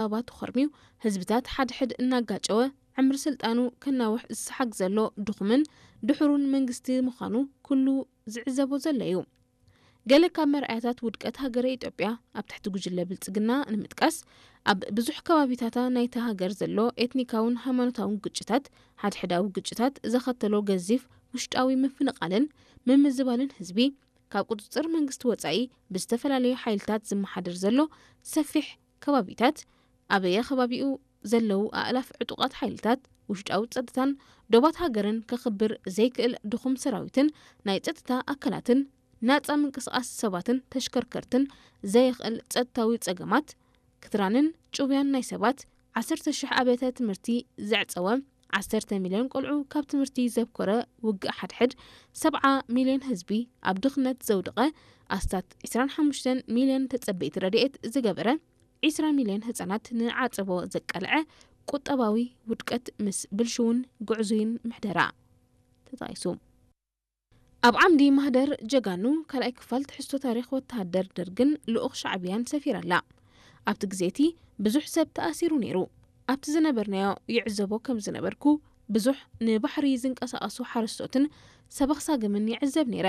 ኣባባቱ ኸርሚው ህዝብታት ሓድሕድ እናጋጨወ ዕምሪ ስልጣኑ ከናውሕ ዝሰሓግ ዘሎ ድኹምን ድሑሩን መንግስቲ ምዃኑ ኩሉ ዝዕዘቦ ዘሎ እዩ። ገለ ካብ መርኣያታት ውድቀት ሃገረ ኢትዮጵያ ኣብ ትሕቲ ጉጅለ ብልጽግና ንምጥቃስ፣ ኣብ ብዙሕ ከባቢታታ ናይታ ሃገር ዘሎ ኤትኒካውን ሃይማኖታውን ግጭታት፣ ሓድሕዳዊ ግጭታት ዘኸተሎ ገዚፍ ውሽጣዊ ምፍንቓልን ምምዝባልን ህዝቢ፣ ካብ ቁጽጽር መንግስቲ ወጻኢ ብዝተፈላለዩ ሓይልታት ዝመሓደር ዘሎ ሰፊሕ ከባቢታት፣ ኣበየ ከባቢኡ ዘለዉ ኣእላፍ ዕጡቓት ሓይልታት ውሽጣዊ ጸጥታን ዶባት ሃገርን ከኽብር ዘይክእል ድኹም ሰራዊትን ናይ ጸጥታ ኣካላትን፣ ናጻ ምንቅስቓስ ሰባትን ተሽከርከርትን ዘየኽእል ጸጥታዊ ጸገማት፣ ክትራንን ጭውያን ናይ ሰባት፣ ዓሰርተ ሽሕ ኣብያተ ትምህርቲ ዘዕጸወ፣ ዓሰርተ ሚልዮን ቆልዑ ካብ ትምህርቲ ዘብኮረ ውግእ ሓድሕድ፣ ሰብዓ ሚልዮን ህዝቢ ኣብ ድኽነት ዘውደቐ፣ ኣስታት ዕስራን ሓሙሽተን ሚልዮን ተጸበይቲ ረድኤት ዝገበረ፣ ዕስራ ሚልዮን ህጻናት ንዓጸቦ ዘቃልዐ ቁጠባዊ ውድቀት ምስ ብልሽውን ጉዕዙይን ምሕደራ ተጣይሱ። ኣብ ዓምዲ ማህደር ጀጋኑ ካልኣይ ክፋል ትሕዝቶ ታሪኽ ወተሃደር ደርግን ልኡኽ ሻዕብያን ሰፊራ ኣላ። ኣብቲ ግዜ እቲ ብዙሕ ሰብ ተኣሲሩ ነይሩ። ኣብቲ ዝነበርናዮ ይዕዘቦ ከም ዝነበርኩ፣ ብዙሕ ንባሕሪ ዝንቀሳቐሱ ሓረስቶትን ሰበኽ ሳግምን ይዕዘብ ነይረ።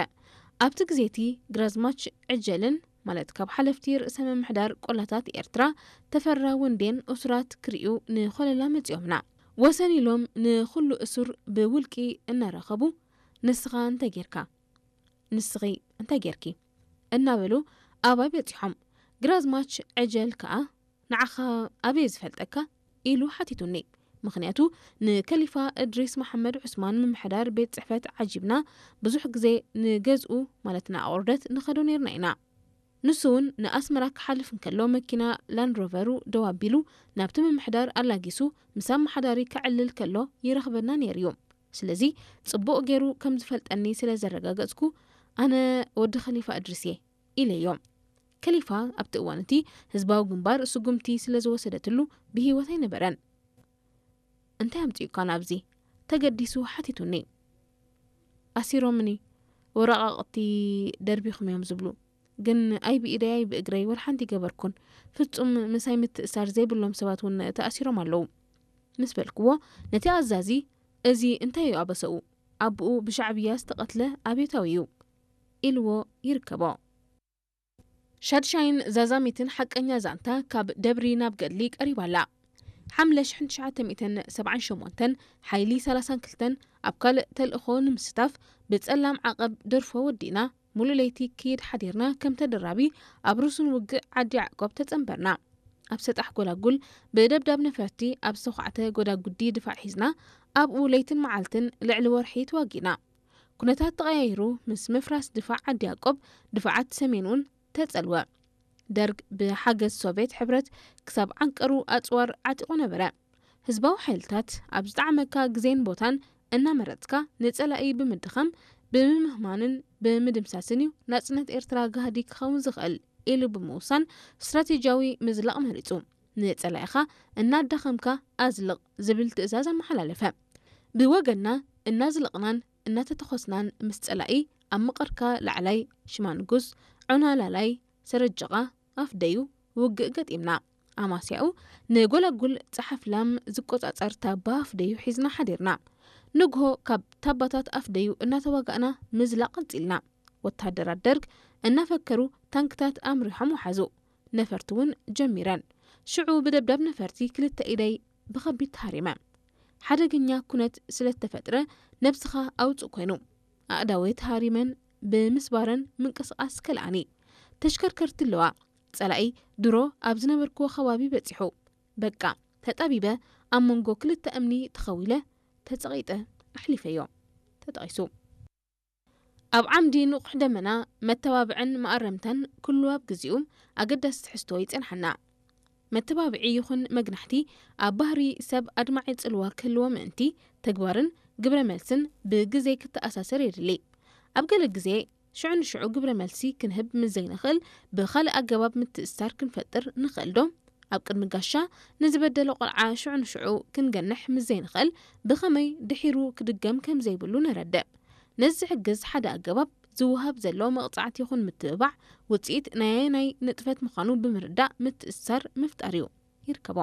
ኣብቲ ግዜ እቲ ግራዝማች ዕጀልን፣ ማለት ካብ ሓለፍቲ ርእሰ ምምሕዳር ቆላታት ኤርትራ ተፈራ ወንዴን እሱራት ክርእዩ ንኾለላ መጺኦምና። ወሰን ኢሎም ንኹሉ እሱር ብውልቂ እናረኸቡ፣ "ንስኻ እንታይ ጌርካ? ንስኺ እንታይ ጌርኪ?" እናበሉ ኣባይ በጺሖም። ግራዝማች ዕጀል ከኣ፣ "ንዓኻ ኣበይ ዝፈልጠካ?" ኢሉ ሓቲቱኒ። ምኽንያቱ ንከሊፋ እድሪስ መሓመድ ዑስማን ምምሕዳር ቤት ጽሕፈት ዓጂብና ብዙሕ ግዜ ንገዝኡ፣ ማለት ንኣቑርደት ንኸዶ ነይርና ኢና። ንሱ እውን ንኣስመራ ክሓልፍ እንከሎ መኪና ላንድ ሮቨሩ ደው ኣቢሉ ናብቲ ምምሕዳር ኣላጊሱ ምስ ኣመሓዳሪ ከዕልል ከሎ ይረኽበና ነይሩ እዩ። ስለዚ ጽቡቕ ገይሩ ከም ዝፈልጠኒ ስለ ዘረጋገጽኩ፣ "ኣነ ወዲ ከሊፋ እድሪስ እየ" ኢለዮ። ከሊፋ ኣብቲ እዋን እቲ ህዝባዊ ግንባር ስጉምቲ ስለ ዝወሰደትሉ ብህይወት ኣይነበረን። "እንታይ ኣምጺኡካ ናብዚ?" ተገዲሱ ሓቲቱኒ። "ኣሲሮምኒ፣ ወረቓቕቲ ደርቢኹም እዮም ዝብሉ። ግን ኣይ ብኢደይ ኣይ ብእግረይ ወላ ሓንቲ ገበርኩን። ፍጹም ምሳይ ምትእሳር ዘይብሎም ሰባት እውን ተኣሲሮም ኣለዉ" ምስ በልክዎ፣ ነቲ ኣዛዚ፣ "እዚ እንታይ እዩ ኣበሰኡ? ኣቦኡ ብሻዕብያ ዝተቐትለ ኣብዮታዊ እዩ" ኢልዎ ይርከቦ። ሻድሻይን ዛዛሚትን ሓቀኛ ዛንታ ካብ ደብሪ ናብ ገድሊ ቀሪባ ኣላ። ሓምለ ሽሕን ትሽዓተ ሚእትን ሰብዓን ሸሞንተን ሓይሊ ሰላሳን ክልተን ኣብ ካልእ ተልእኾ ንምስታፍ ብጸላም ዓቐብ ደርፎ ወዲእና፣ ሙሉእ ለይቲ ክይድ ሓዲርና ከም ተደራቢ ኣብ ርሱን ውግእ ዓዲ ያዕቆብ ተጸንበርና። ኣብ ሰጣሕ ጎላጉል ብደብዳብ ነፈርቲ ኣብ ዝተዃዕተ ጎዳጉዲ ድፋዕ ሒዝና፣ ኣብኡ ለይትን መዓልትን ልዕሊ ወርሒ ተዋጊእና። ኩነታት ተቐያይሩ ምስ ምፍራስ ድፋዕ ዓዲ ያዕቆብ፣ ድፋዓት ሰሜን እውን ተጸልወ። ደርግ ብሓገዝ ሶቭየት ሕብረት ክሳብ ዓንቀሩ ኣጽዋር ዓጢቑ ነበረ። ህዝባዊ ሓይልታት ኣብ ዝጠዓመካ ግዜን ቦታን እናመረጽካ ንጸላኢ ብምድኻም፣ ብምህማንን ብምድምሳስን እዩ ናጽነት ኤርትራ ጋህዲ ክኸውን ዝኽእል ኢሉ ብምውሳን ስትራቴጂያዊ ምዝላቕ መሪጹ። ንጸላኢኻ እናዳኸምካ ኣዝልቕ ዝብል ትእዛዝ ኣመሓላለፈ። ብወገንና እናዝለቕናን እናተተኾስናን ምስ ጸላኢ ኣብ ምቕርካ ላዕላይ ሽማንጉስ፣ ዑና ላላይ፣ ሰረጀቓ፣ ኣፍደዩ ውግእ ገጢምና። ኣማስያኡ ንጎላጉል ጸሓፍላም ዝቆጻጸር ታባ ኣፍደዩ ሒዝና ሓዲርና። ንግሆ ካብ ታባታት ኣፍደዩ እናተዋጋእና ምዝላቕ ቀጺልና። ወተሃደራት ደርግ እናፈከሩ ታንክታት ኣምሪሖም ወሓዙ። ነፈርቲ እውን ጀሚረን። ሽዑ ብደብዳብ ነፈርቲ ክልተ ኢደይ ብኸቢድ ተሃሪመ። ሓደገኛ ኩነት ስለ ዝተፈጥረ ነብስኻ ኣውጽእ ኮይኑ። ኣእዳወይ ተሃሪመን ብምስባረን ምንቅስቓስ ከልኣኒ። ተሽከርከርቲ ኣለዋ። ጸላኢ ድሮ ኣብ ዝነበርክዎ ከባቢ በጺሑ። በቃ፣ ተጠቢበ ኣብ መንጎ ክልተ እምኒ ተኸዊለ ተጸቒጠ ኣሕሊፈዮ። ተጠቒሱ። ኣብ ዓምዲ ንቑሕ ደመና መተባብዕን መኣረምታን ኩሉ ኣብ ግዚኡ ኣገዳሲ ትሕዝቶ ይጸንሓና። መተባብዒ ይኹን መግናሕቲ ኣብ ባህሪ ሰብ ኣድማዒ ጽልዋ ክህልዎ ምእንቲ፣ ተግባርን ግብረ መልስን ብግዜ ክተኣሳሰር የድሊ። ኣብ ገለ ግዜ ሽዑ ንሽዑ ግብረ መልሲ ክንህብ ምስ ዘይንኽእል፣ ብኻልእ ኣገባብ ምትእስሳር ክንፈጥር ንኽእል ዶ? ኣብ ቅድሚ ጋሻ ንዝበደለ ቆልዓ ሽዑ ንሽዑ ክንገንሕ ምስ ዘይንኽእል፣ ብኸመይ ድሒሩ ክድገም ከም ዘይብሉ ነረድእ። ነዚ ዝሕግዝ ሓደ ኣገባብ፣ ዝወሃብ ዘሎ መቕጻዕቲ ይኹን ምትብባዕ ውጽኢት ናይ ኣየናይ ንጥፈት ምዃኑ ብምርዳእ ምትእስሳር ምፍጣር እዩ። ይርከቦ።